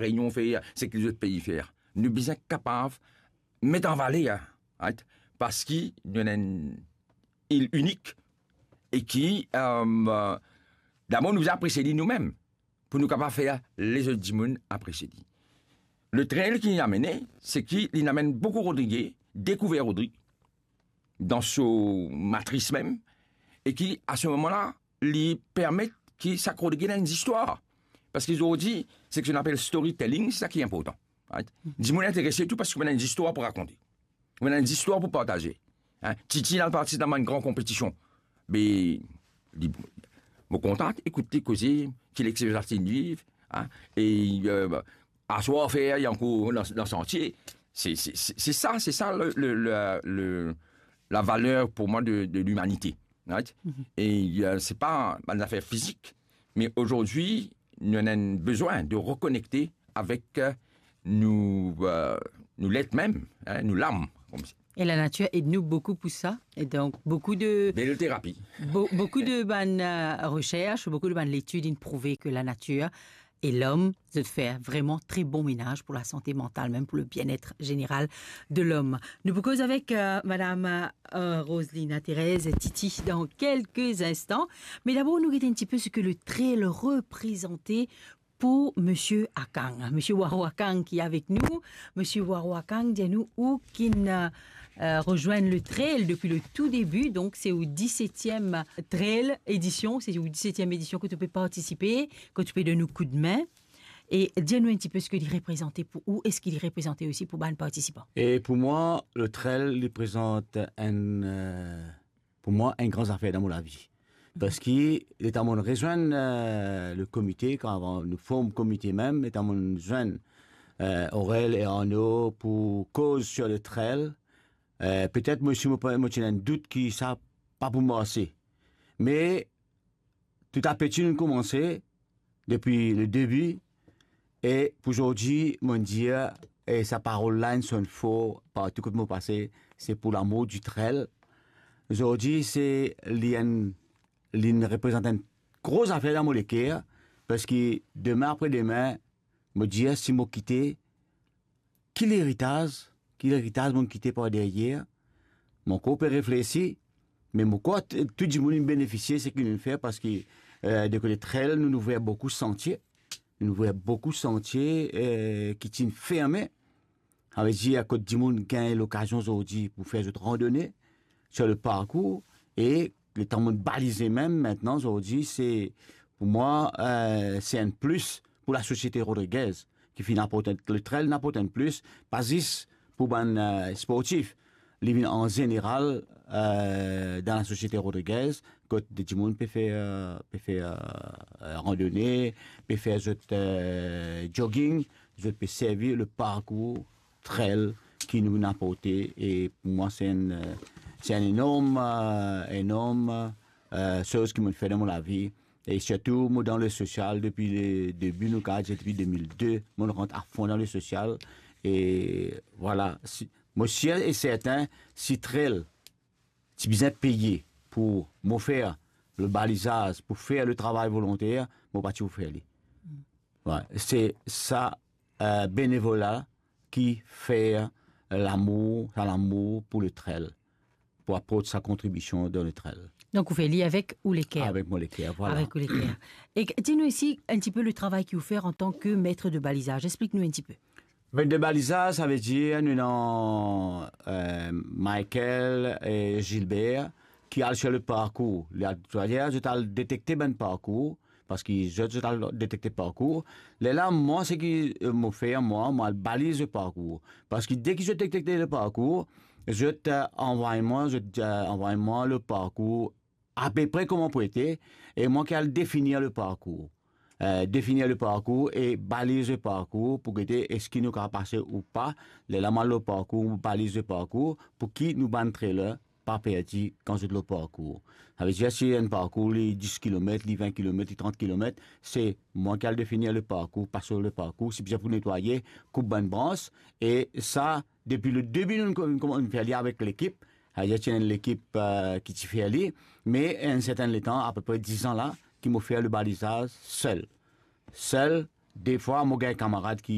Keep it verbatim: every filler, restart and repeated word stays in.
Reynion fer, seki lezot pei fer. Nou bizin kapav met an valer, right? Parski nou ena enn il inik e ki, euh, dabor nou bizin apresie li noumem, pou nou kapav fer lezot dimoun apresie li. Le trail ki li amene, seki li amenn boukou Rodrige dekouver Rodrig dan so matris mem, e ki, a se moman la, li permet ki sak Rodrig ena enn zistwar. Parski zordi, seki nou apel storytelling, se sa ki inportan. Right? Dimoun interese tou parski ou ena enn zistwar pou rakonte. Ou ena enn zistwar pou partaze. Hein? Titi, li al partisip dan bann gran konpetision. Be, li, mo kontan ekout li koze, ki lexperyans li viv, hein? E, euh, aswar fer, li ankor dan, dan santie. Se, se, se, se sa, se sa le, le, le, le, la valer pou mwa de, de limanite. Right? E, euh, se pa bann zafer fizik, me azordi, nou ena enn bizin de rekonekte avek, euh, nou, euh, nou let mem, hein, nou lam, koumsi. Et la nature aide nous beaucoup pour ça. Et donc, beaucoup de, bel terapi. Be-, beaucoup de bann, euh, recherches, beaucoup de bann études ont prouvé que la nature et l'homme, zot fer vreman tre bon menaz pou lasante mantal, mem pou le bien-être général de l'homme. Nou pou koz avek, euh, madam, euh, Roselina Thérèse Titi dan kelke instan. Me dabor, nou gete enn tipe seki le trail reprezante pou Misie Akang, Misie Waro Akang ki avek nou. Misie Waro Akang, dir nou, ou ki'nn, euh, rezwenn le trail depi le tou debi, donk se ou disetyem trail edision, se ou disetyem edision ki to pe partisipe, ki to pe donn nou koudme. E dir nou enn tipe seki li reprezante pou ou, e seki li reprezante osi pou bann partisipan. E pou mwa, le trail, li reprezant enn, euh, pou mwa, enn gran zafer dan mo lavi. Parski, letan mo'nn rezwenn, euh, le komite, kan avan nou form komite mem, letan mo'nn zwenn, euh, Aurel e Arnaud pou koz sur le trail, euh, petet mo osi mo, mo ti ena enn dout ki sa pa pou marse. Me tou a peti nou koumanse, depi le debi, e pou zordi, mo'nn dir, e sa parol la inn sonn for partou kot mo pase, se pour l'amour du trail. Zordi, se li enn, li'nn reprezant enn gro zafer dan mo leker, parski demin apre demin, mo dir, si mo kite, ki leritaz, ki leritaz mo'nn kite par deryer? Mo ankor pe reflesi, me mo krwar t-, tou dimoun inn benefisie seki nou'nn fer, parski, euh, de kote trail, nou'nn ouver boukou santie. Nou'nn ouver boukou santie, euh, ki ti'nn ferme. Savedir, kot dimoun gagn lokazion zordi pou fer zot randone sur le parkour, e letan mo'nn balize mem, mintnan, zordi, se, pou mwa, euh, se enn plis pou lasosiete rodrigez, ki finn aport enn, le trail inn aport enn plis, pa zis pou bann, euh, sportif, li vinn an zeneral, euh, dan lasosiete rodrigez, kot de dimoun pe fer, euh, pe fer, euh, euh, randone, pe fer zot, euh, jogging, zot pe servi le parkour trail ki nou'nn aporte, e pou mwa, se enn, euh, se enn enorm, euh, enorm, euh, soz ki mo'nn fer dan mo lavi. E sirtou, mo dan le sosial depi le debi, nou kapav dir depi de mil de, mo'nn rant afon dan le sosial. E vwala, si, mo sir e sertin, si trail ti bizin peye pou mo fer le balizaz, pou fer le travay volonter, mo pa ti pou fer li. Wi, se sa, euh, benevola ki fer lamour, sa lamour pou le trail, pou aport sa kontribision dan le trail. Donk, ou fer li avek ou leker. Avek mo leker, vwala. Avek ou leker. E dir nou osi enn tipe le travay ki ou fer antan ki met de balizaz. Explik nou enn tipe. Met de balizaz, savedir nou ena, euh, Michael e Gilbert ki al sur le parkour. Li al, savedir, zot al detekte bann parkour, parski zot, zot al detekte parkour. Lerla, mwa, seki, euh, mo fer, mwa, mo al baliz le parkour. Parski deki zot detekte le parkour, zot, euh, anvway mwa, zot, euh, anvway mwa le parkour apepre kouma pou ete, e mwa ki al definir le parkour. Euh, definir le parkour e baliz le parkour pou gete eski nou kapav pase ou pa. Lerla mo al lor parkour, mo baliz le parkour, pou ki nou bann trailer pa perdi kan zot lor parkour. Savedir, si enn parkour li dis kilomet, li vin kilomet, li trant kilomet, se mwa ki al definir le parkour, pas lor le parkour, si bizin pou netwaye, koup bann brans, e sa, depi le debi, nou, nou, nou fer li avek lekip, savedir, ti ena enn lekip, euh, ki ti fer li, me enn sertin letan, apepre diz an la, ki mo fer le balizaz sel. Sel, defwa, mo gagn kamarad ki